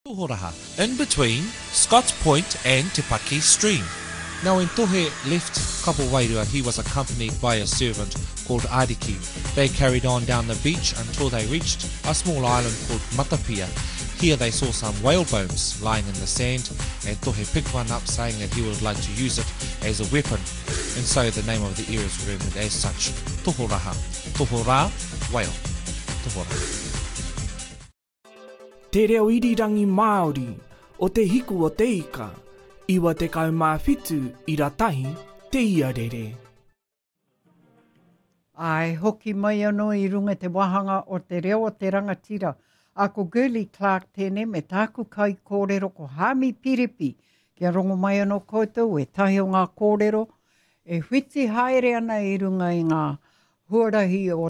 Tohoraha, in between Scotts Point and Te Paki Stream. Now when Tohe left Kapowairua he was accompanied by a servant called Ariki. They carried on down the beach until they reached a small island called Matapia. Here they saw some whale bones lying in the sand and Tohe picked one up saying that he would like to use it as a weapon. And so the name of the area is remembered as such, Tohoraha. Tohora, whale. Tohora. Te Reo Irirangi Māori o Te Hiku o Te Ika, 97 ira tahi te iarere. Āe, hoki mai anō i runga i te wāhanga o te reo o te rangatira. Ā, ko Girlie Clarke tēnei me tāku kaikōrero ko Haami Piripi. Kia rongo mai anō koutou ētahi o ngā kōrero e whiti haere ana i runga i ngā huarahi o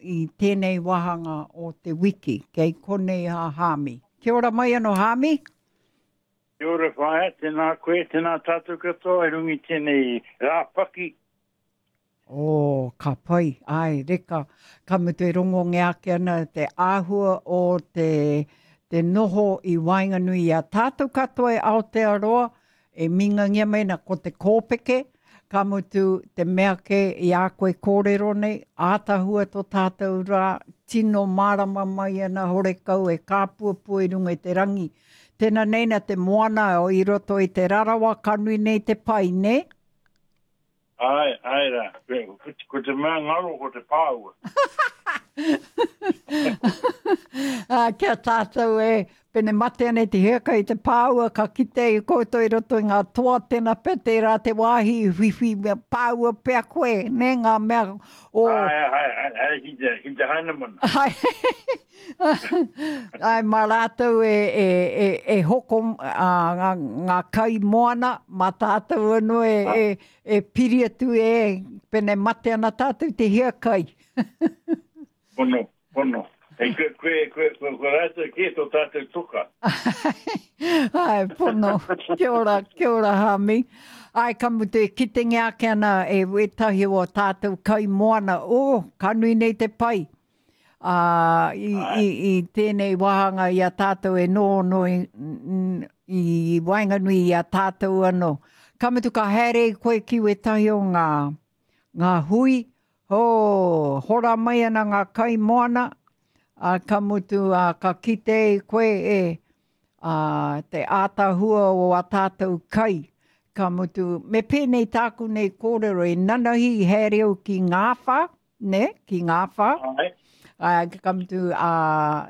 i tēnei wāhanga o te wiki. Kei konei a Haami. Kia ora mai anō Haami. Kia ora whaea, tēnā koe, tēnā tātou katoa i runga i tēnei rā paki. Oh, ka pai, āe, reka. Ka mutu e rongongia ake ana te āhua o te, te noho i waenganui i a tātou katoa e Aotearoa, E mingangia mai ana ko te kōpeke, ka mutu te mea kē i a koe kōrero nei, ātahua tō tātou rā, tino mārama mai ana horekau e kāpuapua i runga i te rangi. Tēnā nei nā te moana i roto i te rarawa ka nui nei te pai, nē? Āe, āe rā. Ko te mea ngaro ko te pāua. Ā, kia tātou e, pene mate ana i te hiakai i te pāua, ka kite i koutou i roto i ngā toa tēnā pea tērā te wāhi i whiwhi mea pāua pea koe, nē, ngā mea o... Āe, āe, āe, āe, ki te, ki te Hainamana. Āe, Āe, mā rātou e, e, e, e hoko ā, ngā, ngā kai moana, mā tātou anō e, e, e piri atu e, pene mate ana tātou te hiakai. Pono, pono. Hei, koe, koe, koe, koe, koe rātou kē tō tātou toka. Āe, pono. Kia ora, kia ora, Hami. Āe, ka mutu e kitengia ake ana e wētahi o ā tātou kai moana, oh, ka nui nei te pai. Ā, i, i, i tēnei wāhanga i a tātou e noho i, i waenganui i a tātou anō. Ka mutu ka haere koe ki wētahi o ngā, ngā hui, hō, hora mai ana ngā kai moana, ā, ka mutu, ā, ka kite i koe e, ā, te ātaahua o ā tātou kai. Ka mutu, me pēnei tāku nei kōrero, e nanahi i haere au ki Ngāwhā, nē, ki Ngāwhā. Āe. Ā, ka mutu, ā,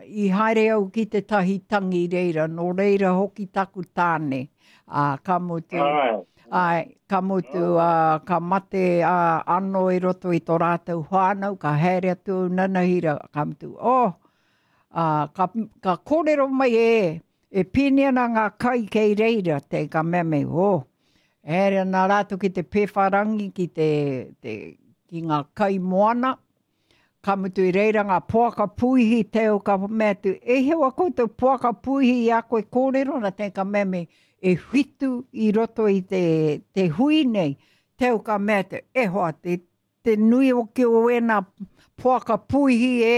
i haere au ki tētahi tangi reira, nō reira hoki taku tāne. Ā, ka mutu, Āe. āe, ka mutu, ā, ka mate ā, anō i roto i tō rātou whānau, ka haere atu au nanahira, ka mutu, oh, ā, ka, ka kōrero mai e, e pīni ana ngā kai kei reira, te, ka mea mai, oh, E haere ana rātou ki te pēwharangi, ki te, te, ki ngā kai moana, ka mutu i reira ngā poaka puihi, te au ka mea atu, e hea wa koutou poaka puihi i a koe kōrero, na te ka mea me, e whitu i roto i te, te hui nei, te au ka mea atu, e hoa, te, Te nui hoki o ēnā poaka puihi e,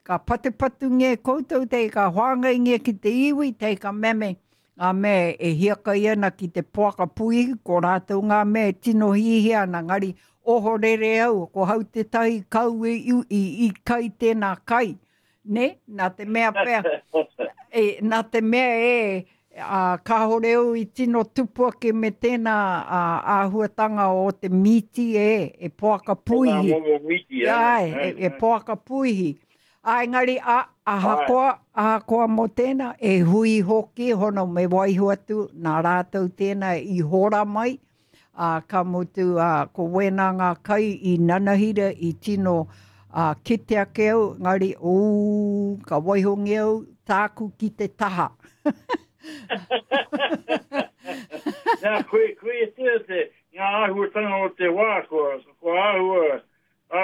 ka patupatungia e koutou, te ka whāngaingia ki te iwi, te ka mea me, ngā mea e hiakai ana ki te poaka puihi, ko rātou ngā mea e tino hihia ana, ngari ohorere au, ko hau tētahi kau i, i, i kai tēnā kai. Nē, nā te mea pea, e, nā te mea e, ā, kāore au i tino tupu ake me tēnā ā, āhuatanga o te mīti e, e poaka puihi. Ko ngā momo mīti, āe. Āe, e, e poaka puihi. Ā, engari, a, ahakoa, ahakoa mō tēnā, e hui hoki, hono me waiho atu, nā rātou tēnā i hora mai, ā, ka mutu, ā, ko wēnā ngā kai i nanahira i tino, ā, kite ake au, engari, ū, ka waihongia au tāku ki te taha. Nā, koe, koe e te, te, ngā āhuatanga o te wā, kua, kua āhua,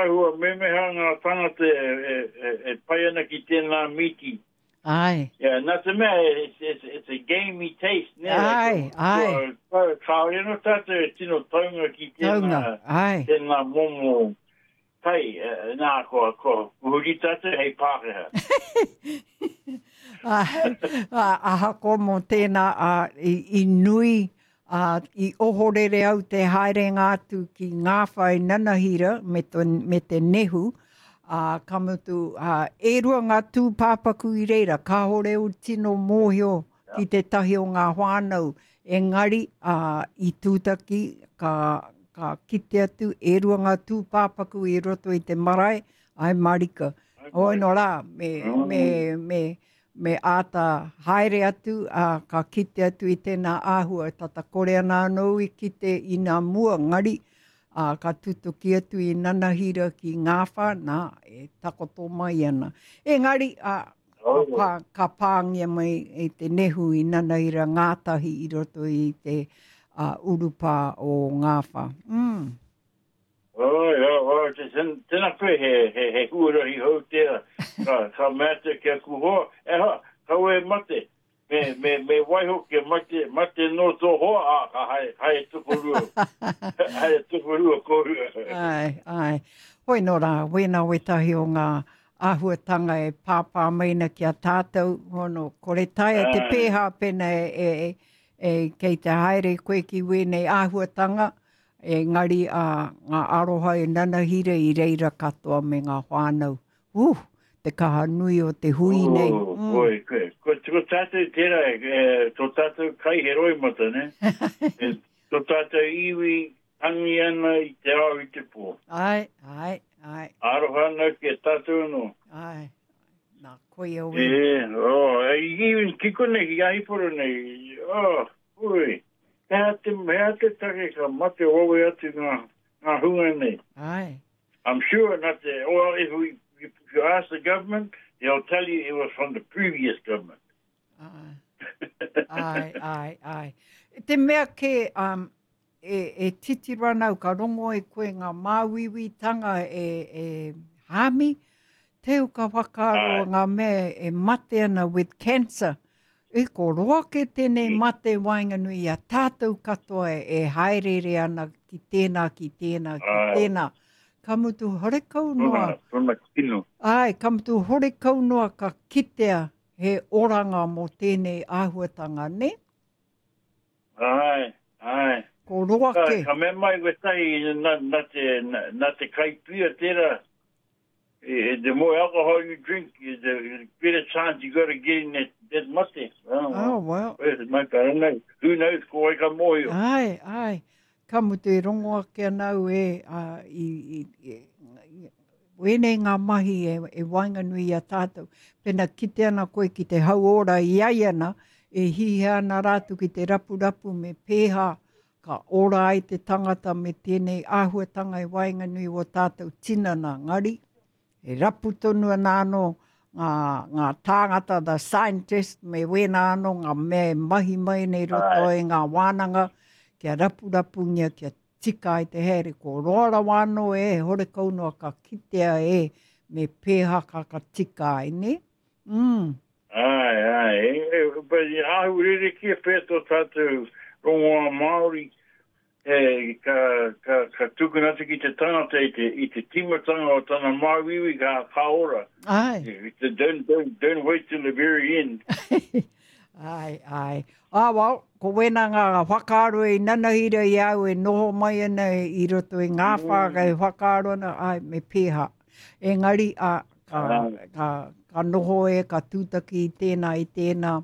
āhua memeha ngā tangata e, e, e, e pai ana ki tēnā mīti. Āe. Yeah, nā te mea, it's, it's, it's a gamey taste, nē? Āe, āe. Kua, kāore anō tātou e tino taunga ki tēnā, taunga, āe. tēnā momo kai, nā, kua, kua huri tātou hei Pākehā. Ai, ahakoa mō tēnā, ā, i, i nui, ā, i ohorere au te haerenga atu ki Ngāwhā i Nanahira me te, me te nehu, ā, ka mutu, ā, e rua ngā tūpāpaku i reira, kāore au tino mōhio ki tētahi o ngā whānau, engari, ā, i tūtaki, ka, ka kite atu, e rua ngā tūpāpaku i roto i te marae, ai marika. Hoi no rā, me, me, me, me āta haere atu, ā, ka kite atu i tēnā āhua, tata kore ana anō i kite i nā mua, ngari, ā, ka tutuki atu i Nanahira ki Ngāwhā, nā, e takoto mai ana. Engari, ā, ka, pā, ka pāngia mai e te nehu i Nanahira ngātahi i roto i te uh, urupā o Ngāwhā. Mm. Oi, oi, oi, te, tēnā koe he, he, he huarahi hou tērā. Ka, ka mea atu ki aku hoa, e hoa, kaua e mate, me, me, me waiho kia mate, mate nō tō hoa, ā, ka haere, haere tokorua, haere tokorua kōrua. Ai, ai. Hoi nō rā, wēnā wētahi o ngā āhuatanga e pāpā mai ana ki a tātou, hono, kore taea te pēhā pēnā e, e, e, kei te haere koe ki wēnei āhuatanga, Engari a ngā aroha e nanahira i reira katoa me ngā whānau. Uh, te kaha nui o te hui nei. Oh, mm. Oi, ko, ko, ko tātou tērā, e, tō tātou kai he roimata, ne? e, tō tātou iwi tangi ana i te ao i te pō. Ai, ai, ai. Aroha ana ki a tātou anō. Ai, nā, koia we. E, oh, e, even ki konei, ki Ahiporo nei, oh, ui. He aha te, he aha te take ka mate wawe atu ngā, ngā hunga nei? Aye. I'm sure not the, well, if, we, if you ask the government, they'll tell you it was from the previous government. Aye. Aye, aye, aye. Te mea ke, um, e, e titiro ana au, ka rongo e koe ngā māuiuitanga e, e hāmi, teu ka whakaaro ngā mea e mate ana with cancer. E ko roa ke tēnei mate waenganui i a tātou katoa e haereere ana ki tēnā, ki tēnā, ki tēnā. Ka mutu horekau noa. Tōna kino. Āe, ka mutu horekau noa ka kitea he oranga mō tēnei āhuatanga, nē? Āe, āe. Ko roa ke. Ka mea mai wētahi nā, nā te, nā te kai pia tērā, the more alcohol you drink, the better chance you got of getting that, that mate. Oh, oh well. Well, mate, I don't know. Who knows, ko wai ka mōhio. Ai, ai. Ka mutu e rongo ake ana au e, uh, i, i, i, i, wēnei ngā mahi e, e waenganui i a tātou. Pena kite ana koe ki te hauora i ai ana, e hihia ana rātou ki te rapurapu me pēhā Ka ora ai te tangata me tēnei āhuatanga i waenganui o tātou tinana ngari, e rapu tonu ana anō ngā, ngā tāngata, the scientist, me wēnā anō ngā mea e mahi mai nei roto i ngā wānanga, kia rapurapungia, kia tika ai te haere. Ko roa rawa anō e, horekau noa ka kitea e, me pēhā ka ka tika ai, nē? Mm. Āe, āe. E, but i āhua rerekē pea tō tātou rongoā Māori, e, ka, ka, ka tukuna atu ki te tangata i te, i te tīmatanga o tana māuiui ka, ka ora. Āe. Don't, don't, don't wait till the very end. Āe, āe. Ah, well, ko wēnā ngā whakaaro i nanahira i a au e noho mai ana i roto i ngā whā, mm. e whakaaro ana, āe, me pēhā. Engari, a, ka, ka, ka noho e, ka tūtaki i tēnā, i tēnā,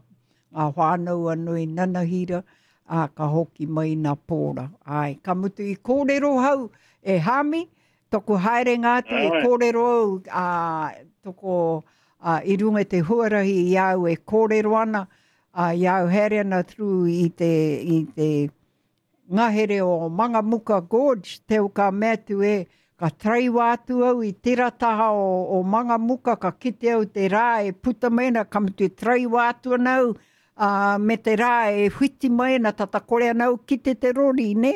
ngā whānau anō i nanahira, ā, ka hoki mai nā pōra. Āe, ka mutu i kōrero hau e Hāmi, toku haerenga atu i kōrero au, ā, toko, ā, i runga i te huarahi i a au e kōrero ana, ā, i a au haere ana through i te, i te, Ngahere o Mangamuka Gorge, te ka mea atu e, ka taraiwa atu au i tera taha o, o Mangamuka, ka kite au te rā e puta mai ana, ka mutu e taraiwa atu ana au, ā, me te rā e whiti mai ana, tata kore ana au kite te rori, nē,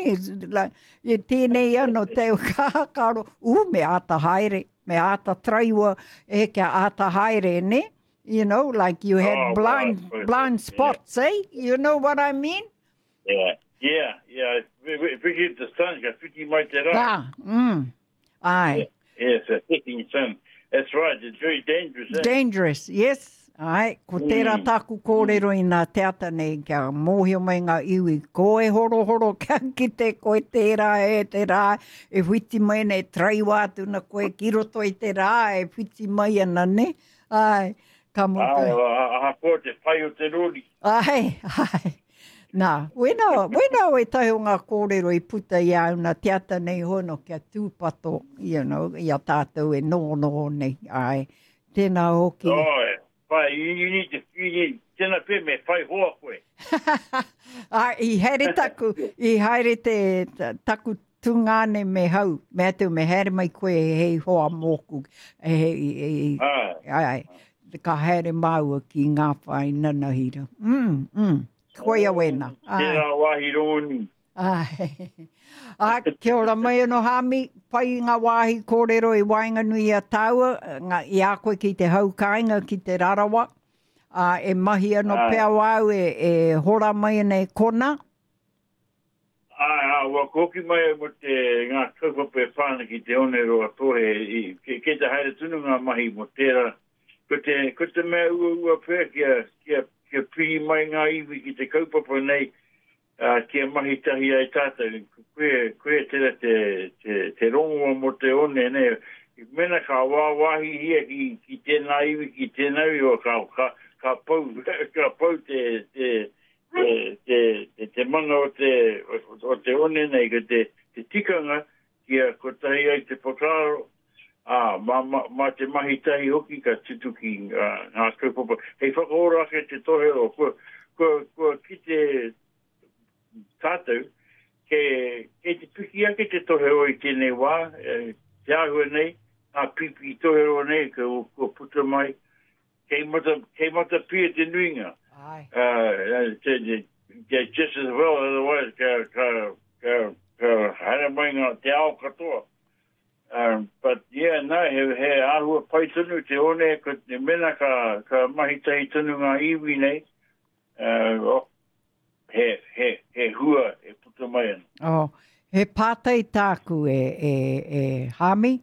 like, e tēnei ano te ka whakaaro, ū, me āta haere, me āta taraiwa, e, kia āta haere, nē? You know, like you had Oh, blind, right, right, blind yeah. spots, eh? You know what I mean? Yeah, yeah, yeah. Whiti the sun, ka whiti mai te rā. Rā, mm. Ai. Yeah, yes, a setting sun. That's right, it's very dangerous. Eh? Dangerous, yes. Āe, ko tērā tāku kōrero inā te ata nei, kia mōhio mai ngā iwi, ko e horohoro kia kite koe tērā e te rā e whiti mai ana, e taraiwa atu ana koe ki roto i te rā e whiti mai ana, nē? Āe, ka mutu. Āe, ahakoa te pai o te rori. Āe, āe. Nā, wena, wena wētahi o ngā kōrero i puta i a au nā te ata nei hono kia tūpato, you know, i a tātou e nohonoho nei, āe. Tēnā hoki. Oi, whai, you need to, you need, tēnā pē me whai hoa koe. Ai, i haere taku, i haere te, taku tungāne me hau, me atu me haere mai koe hei hoa mōku. Hei, hei, ai, ai, ka haere māua ki ngā whai nanahira. Mm, mm, koia wēnā. Tērā wāhi rongonui. Āe. Ā, kia ora mai anō Hāmi, pai i ngā wāhi kōrero i waenganui i a tāua, ngā, i a koe ki te hau kāinga, ki Te Rarawa. Ā, e mahi anō pea wāu e, e hora mai ana e kona. Āe, ā, ua hoki mai au mō te, ngā kaupapa e pā ana ki Te Oneroa Tohe, i, kei, kei te haere tonu ngā mahi mō tērā. Ko te, ko te mea uaua pea kia, kia, kia piri mai ngā iwi ki te kaupapa nei, ā, kia mahi tahi ai tātou, koia, koia tērā te, te, te rongoa mō te one, nē, mēnā ka wāwāhihia ki, ki tēnā iwi, ki tēnā iwi, o, ka, ka, ka pau, ka pau te, te, te, te, te, te mana o te, o, o te one nei, ko te, te tikanga kia kotahi ai te whakaaro, ā, mā, mā, mā te mahi tahi hoki ka tutuki ngā, ngā kaupapa. Hei whakaora ake te tohero, kua, kua, kua kite tātou, ke, kei te piki ake te tohero i tēnei wā, e, te āhua nei, ngā pīpī tohero nei kua, kua puta mai, kei mata, kei matapia te nuinga. Ai. Uh, te, te, te, just as well, otherwise ka, ka, ka, ka haere mai ngā te ao katoa. Um, but yeah, no, he, he āhua pai tonu te one, ko te mena ka, ka mahi tahi tonu ngā iwi nei, uh, oh, he, he, he hua e puta mai ana. Oh, he pātai tāku e, e, e Hāmi,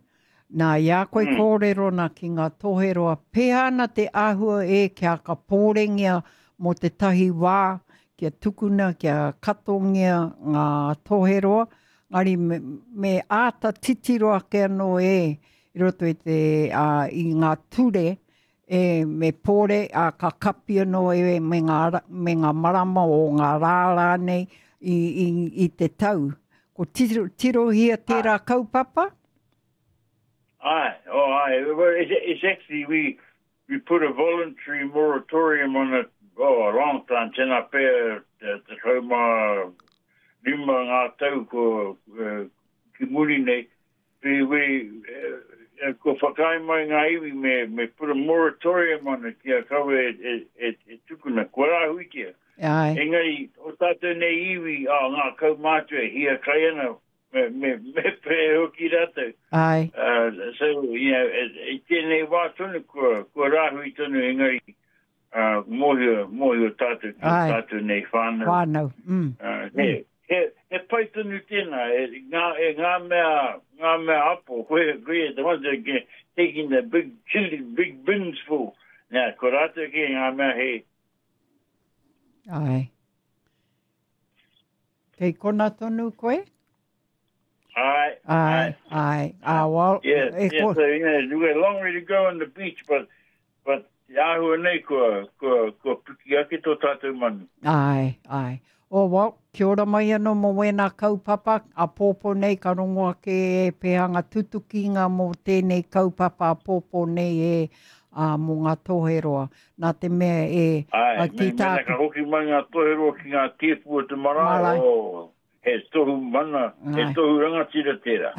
nā i a koe mm. kōrero nā ki ngā toheroa, pēhea ana te āhua e kia ka pōrengia mō tētahi wā, kia tukuna, kia katongia ngā toheroa, ngari me, me āta titiro ake anō e i roto i te, ā, i ngā ture, e me pōre, ā, ka kapi anō e me ngā, me ngā marama o ngā rā rānei i, i, i te tau. Ko tiro, tirohia tērā kaupapa? Aye, oh aye. Well, it's, it's actually, we, we put a voluntary moratorium on it, oh, a long time, tēnā pea te, 15 ngā tau ko, uh, ki muri nei, we, we, uh, kua whakaae mai ngā iwi me, me put a moratorium on it kia kawe e, e, e, e tukuna, kua rāhuitia. Aye. Engari, o tātou nei iwi, oh, ngā kaumātua e hiakai ana, me, me, me pē hoki rātou. Aye. Uh, so, you know, e, i tēnei wā tonu, kua, kua rāhui tonu, engari, uh, mōhio, mōhio tātou ki o tātou nei whānau. Whānau, mm. Uh, he, he, he pai tonu tēnā, e, ngā, e ngā mea, ngā mea apo, koe, koe, the ones that get taking the big chili, big bins full. Nā, ko rātou ki ngā mea he. Ai. Kei kona tonu koe? Ai, ai, ai. Ah, well, yeah, e yeah, so, you know, we're a long way to go on the beach, but But te āhua nei kua, kua, kua piki ake tō tātou manu. Āe, āe. Oh, well, kia ora mai anō mō wēnā kaupapa, āpōpō nei ka rongo ake e pēhanga tutukinga mō tēnei kaupapa āpōpō nei e, ā, mō ngā toheroa. Nā te mea e, Āe, me, mēnā ka hoki mai ngā toheroa ki ngā tēpu o te marae, marae. oh, He tohu mana, he tohu rangatira tērā.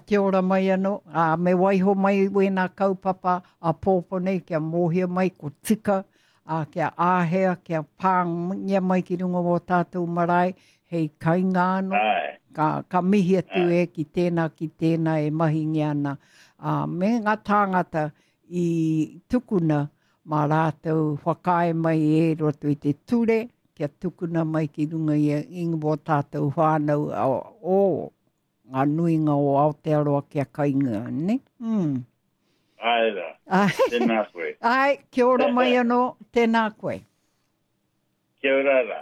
Kia ora mai anō. Ā, me waiho mai wēnā kaupapa āpōpō nei kia mōhio mai ko tika, ā, kia āhea, kia pāngia mai ki runga o ō tātou marae hei kainga anō. Ka, ka mihi atu e ki tēnā, ki tēnā e mahingia ana. Ā, me ngā tāngata i tukuna mā rātou whakaae mai e roto i te ture kia tukuna mai ki runga i i wō tātou whānau o ngā nuinga o Aotearoa kia kainga, ne? Mm. Āe rā. Āe. Tēnā koe. Āe, kia ora mai anō, tēnā koe. Kia ora rā.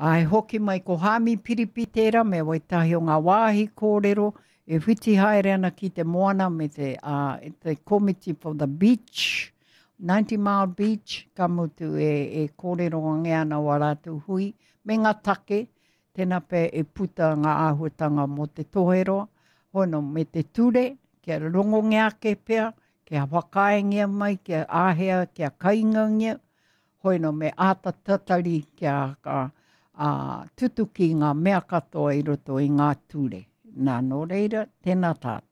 Āe, hoki mai ko Hāmi Piripi tērā me wētahi o ngā wāhi kōrero e whiti haere ana ki te moana me te, uh, te Komiti for the Beach, 90 Mile Beach, ka mutu e, e kōrero ange ana wā rātou hui me ngā take, tēnā pea e puta ngā āhuatanga mō te toheroa, hono me te ture, kia rongongia ake pea, kia whakaaengia mai, kia āhea, kia kaingangia, Hoino me āta tatari kia ka ā, tutuki ngā mea katoa i roto i ngā ture. Nā, nō reira, tēnā tātou.